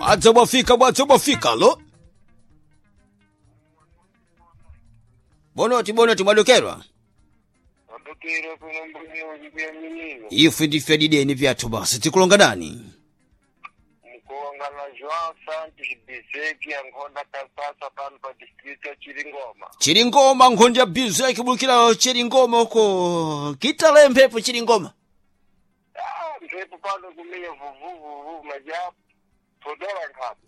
Bwadza bwafika, bwadza bwafika lo. Bonoti bonoti mwadokerwa. Wadokera kuno mbunyo kuyaminiwa. Ife ndife dideni vyathu basi tikulonga dani. Mkulonga na João Santos Bizeki ankhonda kasasa pano pa district ya Chiringoma. Chiringoma nkhonde ya Bizeki bulukira Chiringoma uko. Kitale mphepo Chiringoma. Ah, mphepo pano kumenya vuvuvuvu majapo. Todola nkhabe.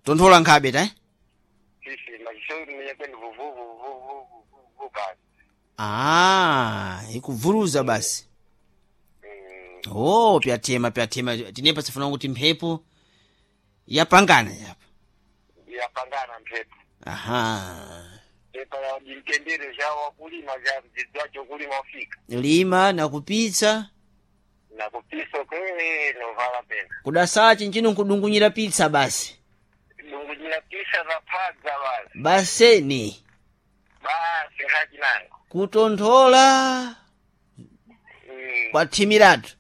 Tonthola nkhabe ta? Sisi machisho kumenya kwene vuvuvuvuvuvu basi. Ah, ikubvuruza basi. Oh, pyatema pyatema tinepa sifuna kuti mphepo yapangana yapa. Yapangana mphepo. Aha. Pepa ya jintendere ja wakulima ja mdzidzacho kulima ufika. Lima na kupitsa Na kupisa kwe novala pena. kudasachi nchino nkudungunyira pizza basi. Dungunyira pisa za phadza basi. Baseni Basi nkhachi nango. kutonthola kwathimiratu.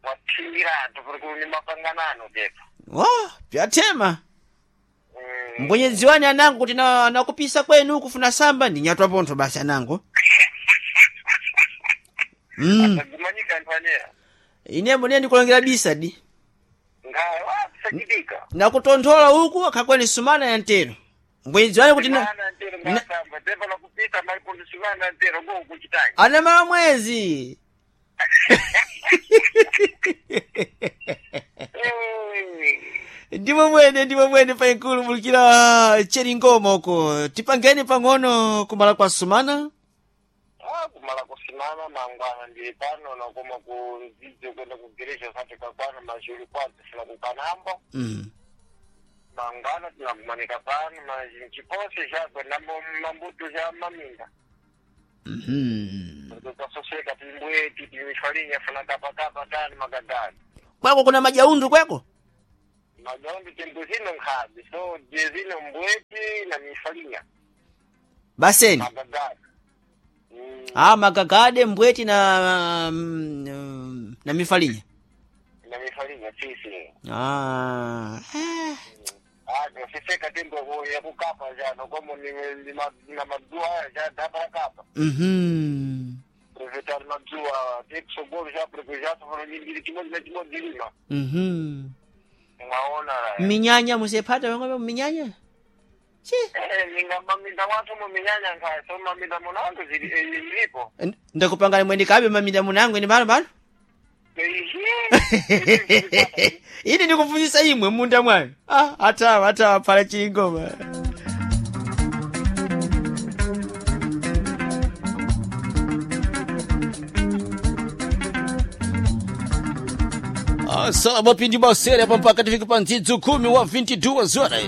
Wathimiratu kuri kuni mapanganano pepa. Wa, pyatema. Mbwenyedziwani anango kuti na nakupisa kwenu kufuna samba ndi nyatwa pontho basi anango. Agumanyika anthu aneya. Ine mbone ndikulongera bisa di. Ngaye wakusachitika. Nakutonthola uku akhakwene sumana ya ntero. Mbwenyedziwani kuti na Sumana ntero ngasamba pepa nakupisa malipondi sumana ntero ngo kuchitanya. anamala mwezi. Ndimo mwene ndimo mwene paikulu mulukira Cheringoma uko. Tipangeni pang'ono kumala kwa sumana. Ah, kumala kusimama mangwana ndili pano nakoma ku mdzidzo kwenda ku gereja sati kakwana mazhuli kwanza sila kukanambo. Mangwana tinakumanika pano machinchipose chakwe nambo mambuto cha maminda. Tukasoseka timbweti timifalinya funa kapakapa tani magadani. Kwako kuna majaundu kwako? Magaombi tembo zino nkhabe so je zino mbweti na mifalinya Baseni. magadani. Ah, magagade mbweti na na mifalinya. Na mifalinya sisi. Ah. Eh. Ah, siseka tembo ya kukapa jano komo ni na madua ja dapa kapa. Aproveitar madua tikusogolo já porque já tofana nyingiri chimodzi na chimodzi lima. Mwaona la. Minyanya musepata wang'ombe minyanya? Chi. Eh, ninga maminda watu mu minyanya nkaya so maminda munango zili ilipo. Ndakupangani mwende kabe maminda munango ine bano bano. Ehe. Ini ndikubvunzisa imwe munda mwanu. Ah, atawa atawa pala chingoma. Salama pindi basere hapa mpaka tufike pa nzidzo 10 wa 22 horas.